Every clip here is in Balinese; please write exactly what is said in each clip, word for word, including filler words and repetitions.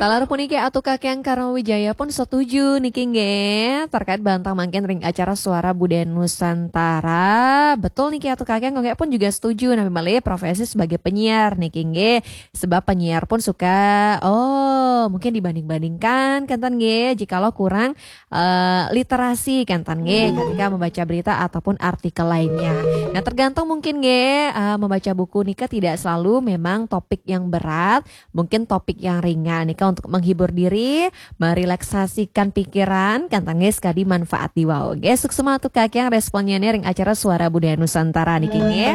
Talar puniki Atu Kakyang Karma Wijaya pun setuju niki nggih terkait bantang mangkin ring acara Suara Budaya Nusantara. Betul niki Atu Kakyang, Gung Gé pun juga setuju napi malih profesi sebagai penyiar niki nggih. Sebab penyiar pun suka, oh, mungkin dibanding-bandingkan kénten nggih jikalau kurang eh, literasi kénten nggih ketika membaca berita ataupun artikel lainnya. Nah, tergantung mungkin nggih eh, membaca buku nika tidak selalu memang topik yang berat, mungkin topik yang ringan nika untuk menghibur diri, merelaksasikan pikiran, kénten nggih sekadi manfaat diwau. Nggih, suksma Atu Kakyang responnya nih ring acara Suara Budaya Nusantara niki nggih.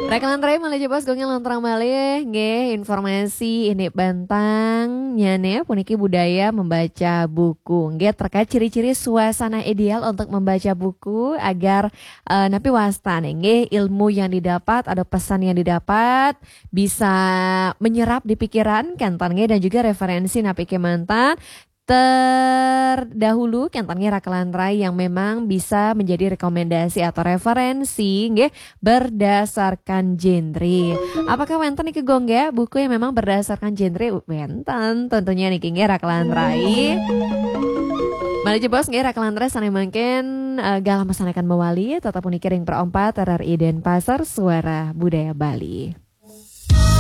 Rakalan rai malih jebos Gung Gé lanturang malih nggih informasi indik bantangnya nih puniki budaya membaca buku nggih terkait ciri-ciri suasana ideal untuk membaca buku agar eh, napi wasta nih nggih ilmu yang didapat ada pesan yang didapat bisa menyerap di pikiran kénten nggih dan juga referensi napi kémanten terdahulu kénten nggih rakalan rai yang memang bisa menjadi rekomendasi atau referensi nggih berdasarkan genre. Apakah wénten niki Gung Gé buku yang memang berdasarkan genre? Wénten tentunya niki nggih rakalan rai. Malih jebos nggih rakalan rai sané mangkin eh, galah masanakan mawali tetap puniki ring Pro empat R R I Denpasar Suara Budaya Bali.